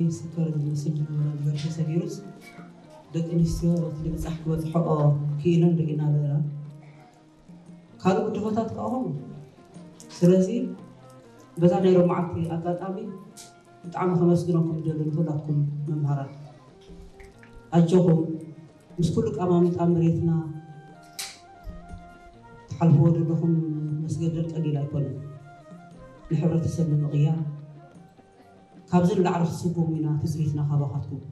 ይስከር ዝመስል ዝነበረ ነገር ተሰጊሩስ፣ ደቂ ኣንስትዮ እቲ ምብጻሕ ክበጽሕኦ ክኢለን ርኢና ኣለና። ካልእ ብድሆታት ከኣ ኹም። ስለዚ በዛ ናይ ሎማዓንቲ ኣጋጣሚ ብጣዕሚ ከመስግነኩም ደሊ ንኩላትኩም መምሃራን። ኣጆኹም፣ ምስ ኩሉ ቀማምጣ መሬትና ትሓልፍዎ ዘለኹም መስገደል ቀሊል ኣይኮነን። ንሕብረተሰብ ንምቕያር ካብዚ ንላዕሊ ክትስጉሙ ኢና ትጽቢትና ካባኻትኩም።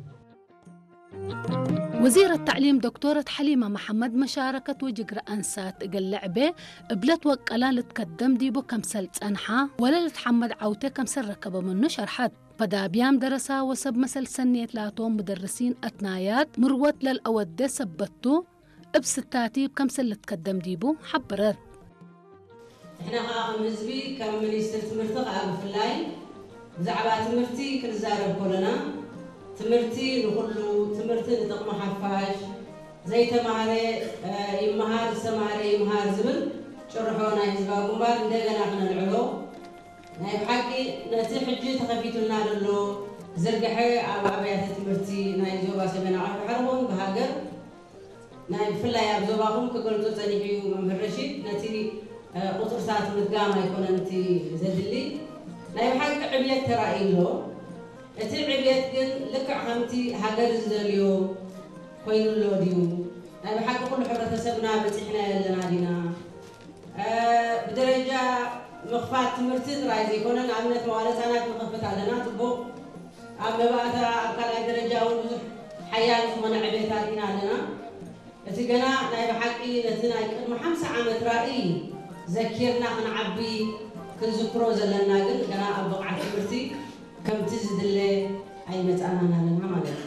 وزيرة التعليم دكتورة حليمة محمد مشاركة وجقر أنسات قلعبة قبلت وقلا لتقدم ديبو كمسل تسنحة ولا لتحمد عوتة كمسل ركب منه شرحت. فدابيام درسا وسب مسل سنيت لاتون مدرسين أتنايات مروت للأودة سبتو እብ ስታቲ ከምሰል ልትከደም ዲቡ ሓበረት። ንሕና ከኣ ከም ህዝቢ ከም ሚኒስትር ትምህርቲ ከኣ ብፍላይ ብዛዕባ ትምህርቲ ክንዛረብ ከለና ትምህርቲ ንኹሉ ትምህርቲ ንጥቕሚ ሓፋሽ ዘይተማህረ ይመሃር ዝተማህረ ይምሃር ዝብል ጭርሖ ናይ ህዝባዊ ግንባር እንደገና ክነልዕሎ ናይ ብሓቂ ነቲ ሕጂ ተኸፊቱልና ዘሎ ዝርግሐ ኣብ ኣብያተ ትምህርቲ ናይ ዞባ ሰሜናዊ ባሕሪ ኹን ብሃገር ናይ ብፍላይ ኣብ ዞባኹም ክገልጾ ጸኒሑ እዩ መምህር ረሺድ ነቲ ቁጽርታት ምድጋም ኣይኮነን እቲ ዘድሊ ናይ ብሓቂ ዕብየት ተራእዩ ኣሎ እቲ ዕብየት ግን ልክዕ ከምቲ ሃገር ዝደልዮ ኮይኑ ኣሎ ድዩ ናይ ብሓቂ ኩሉ ሕብረተሰብና በጺሕና ኣለና ዲና ብደረጃ ምኽፋት ትምህርቲ ጥራይ ዘይኮነ ንኣብነት መዋለ ህፃናት ንኸፍት ኣለና ፅቡቕ ኣብ መባእታ ኣብ ካልኣይ ደረጃ እውን ብዙሕ ሓያል ዝኾነ ዕቤት ኣርኢና ኣለና እቲ ገና ናይ ብሓቂ ነቲ ናይ ቅድሚ ሓምሳ ዓመት ራእይ ዘኪርና ክንዓቢ ክንዝክሮ ዘለና ግን ገና ኣብ ብቕዓት ትምህርቲ ከምቲ ዝድለ ኣይመፃናን ኣለና ማለት እዩ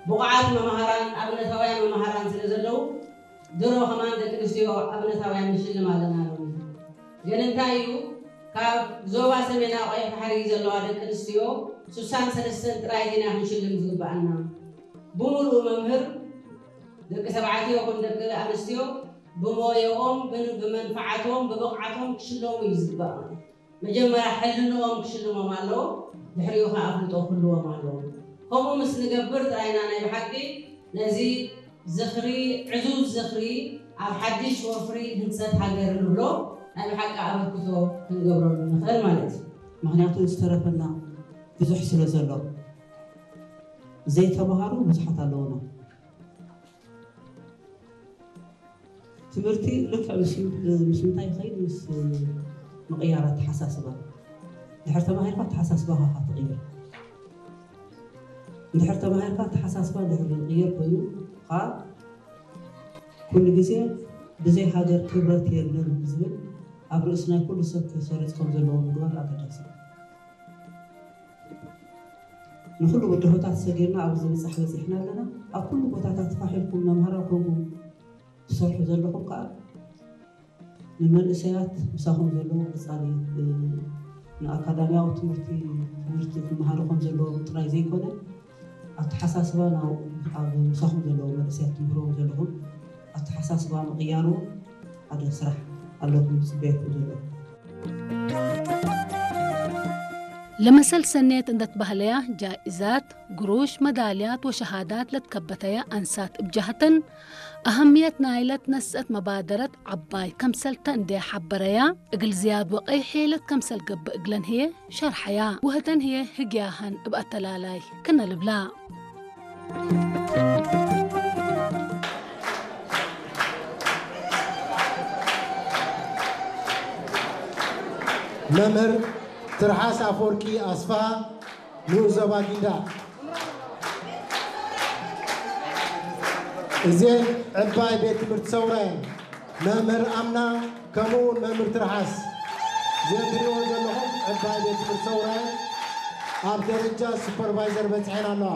ብቑዓት መምሃራን ኣብነታውያን መምሃራን ስለ ዘለዉ ድሮ ከማን ደቂ ኣንስትዮ ኣብነታውያን ንሽልም ኣለና ሎሚ ግን እንታይ እዩ ካብ ዞባ ሰሜናዊ ቀይሕ ባሕሪ ዘለዋ ደቂ ኣንስትዮ ስሳን ሰለስተን ጥራይ ዲና ክንሽልም ዝግበኣና ብምሉኡ መምህር ደቂ ተባዕትዮ ይኹን ደቂ ኣንስትዮ ብሞየኦም ብመንፍዓቶም ብብቕዓቶም ክሽለሙ እዩ ዝግበኦም መጀመርያ ሕልንኦም ክሽልሞም ኣለዎ ድሕሪኡ ከዓ ኣፍልጦ ክህልዎም ኣለዎ ከምኡ ምስ ንገብር ጥራይና ናይ ብሓቂ ነዚ ዝኽሪ ዕዙዝ ዝኽሪ ኣብ ሓድሽ ወፍሪ ህንፀት ሃገር ንብሎ ናይ ብሓቂ ኣበርክቶ ክንገብረሉ ንኽእል ማለት እዩ። ምኽንያቱ ዝተረፈና ብዙሕ ስለ ዘሎ ዘይተምሃሩ ብዙሓት ኣለዉና። ትምህርቲ ልክዕ ምስ ምስ ምንታይ ይኸይድ ምስ ምቕያር ኣተሓሳስባ ድሕር ተማሂርካ ኣተሓሳስባኻ ትቕይር እንድሕር ተማሂርካ ኣተሓሳስባ ድሕር ዝቕየር ኮይኑ ከዓ ኩሉ ግዜ ብዘይ ሃገር ክብረት የለን ዝብል ኣብ ርእሲ ናይ ኩሉ ሰብ ክሰርፅ ከም ዘለዎ ምግባር ኣገዳሲ እዩ። ንኹሉ ብድሆታት ሰጊርና ኣብዚ ምብፃሕ በፂሕና ኣለና። ኣብ ኩሉ ቦታታት ፋሕ ኢልኩም መምሃራን ኮይንኩም ትሰርሑ ዘለኹም ከዓ ንመንእሰያት ምሳኹም ዘለዎም ቀፃሊ ንኣካዳሚያዊ ትምህርቲ ትምህርቲ ክመሃሩ ከም ዘለዎም ጥራይ ዘይኮነ ኣተሓሳስባ ኣብ ምሳኹም ዘለዉ መንእሰያት ትምህርዎም ዘለኹም ኣተሓሳስባ ምቕያሩ ሓደ ስራሕ ኣለኩም ዝፅበየኩም ዘሎ። ለመሰል ሰኔት እንደትባህለያ ጃኢዛት፣ ግሩሽ፣ መዳልያት ወሸሃዳት ለትከበተያ ኣንሳት እብጃህተን ኣህምየት ናይለት ነስአት መባደረት ዓባይ ከምሰልተ እንደ ሓበረያ እግል ዝያድ ወቀይ ሔለት ከምሰል ገብእ እግለን ህየ ሸርሐያ ወህተን ህየ ህግያሃን እብ ኣተላላይ ክነ ልብላ። መምህር ትርሓስ ኣፈወርቂ ኣስፍሃ ንኡስ ዞባ ጊንዳዕ። እዘን ዕባይ ቤት ትምህርቲ ሰውራ እየን። መምህር ኣምና ከምኡ እውን መምህር ትርሓስ እዘን ትሪእወን ዘለኹም ዕባይ ቤት ትምህርቲ ሰውራ እየን። ኣብ ደረጃ ሱፐርቫይዘር በፅሐን ኣለዋ።